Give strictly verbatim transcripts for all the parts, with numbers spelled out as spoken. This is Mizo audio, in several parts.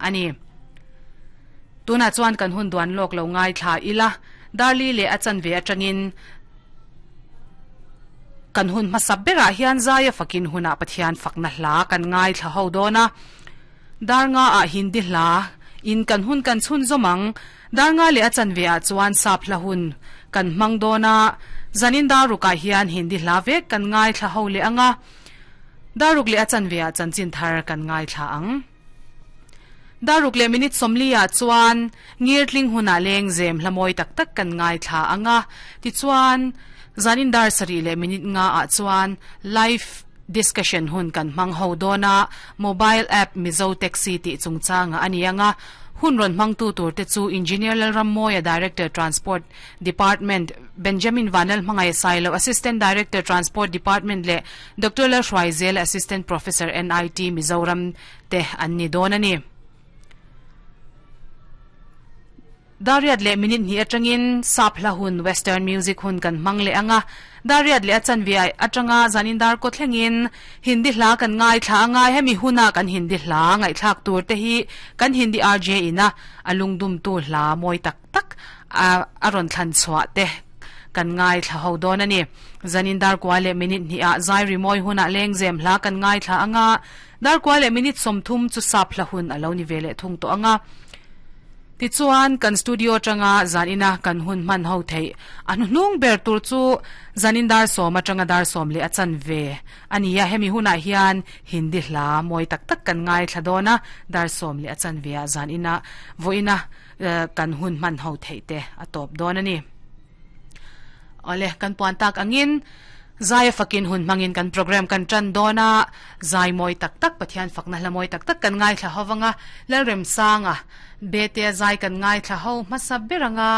Ani. Tuna chuan kan hun duan lok lo ngai thla ila darli le achan ve atangin kan hun hmasa berah hian zaya fakin huna Pathian fakna hla kan ngai thla ho dona darnga a Hindi hla in kan hun kan chhun zomang darnga le achan ve a chuan sap hla hun kan mang dona zanin daruka hian Hindi hla ve kan ngai thla ho le anga daruk le achan ve a chanchin thar kan ngai thla ang daruk le minute somlia chuan ngirtling huna leng zem hlamoi tak tak kan ngai thla anga ti chuan zanin dar sari le minute nga a chuan live discussion hun kan mang ho dona mobile app Mizo Taxi ti chungchanga anianga hun ron mang tu tur te chu Engineer Lalrammoya, Director Transport Department, Benjamin Vanel Mangai Sailo, Assistant Director Transport Department le Doctor Lal Hruaizel, Assistant Professor N I T Mizoram te anni donani. Dariat le minute ni atangin sap hla hun western music hun kan mangle anga dariat le achan vi atanga zanin dar ko thlengin Hindi hla kan ngai thla anga hemi huna kan Hindi hla ngai thlak tur te hi kan Hindi R J ina alungdum tu hla moi tak tak aron thlan chwa te kan ngai thla ho don ani. Zanin dar kwa le minute ni a zai ri moi huna lengzem hla kan ngai thla anga dar kwa le minute somthum chu sap hla hun aloni vele thung to anga. Ti chuan kan studio tanga zanina kan hun man ho thei anu nung ber tur chu zanin dar som atanga dar som le achan ve ania hemi huna hian Hindi hla moi tak tak kan ngai thladona dar som le achan ve a zanina voina kan hun man ho thei te atop don ani. Ole kan puan tak angin zaya fakin hun mangin kan program kan tran dona zai moi tak tak Pathian fakna hla moi tak tak kan ngai thla howanga Lalrem sanga bete zai kan ngai thla ho masa beranga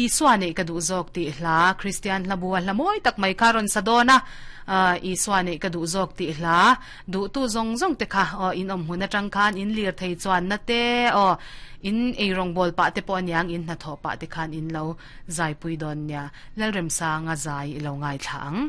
Isua ne ka du zok ti hla Christian hla bua hla moi tak mai karon sadona Isua ne ka du zok ti hla du tu zong zong te kha in om huna tang khan in lir thei chuan na te o in ei rong bol pa te pon yang in na tho pa te khan in lo zai pui don nya Lalrem sanga zai lo ngai thlang.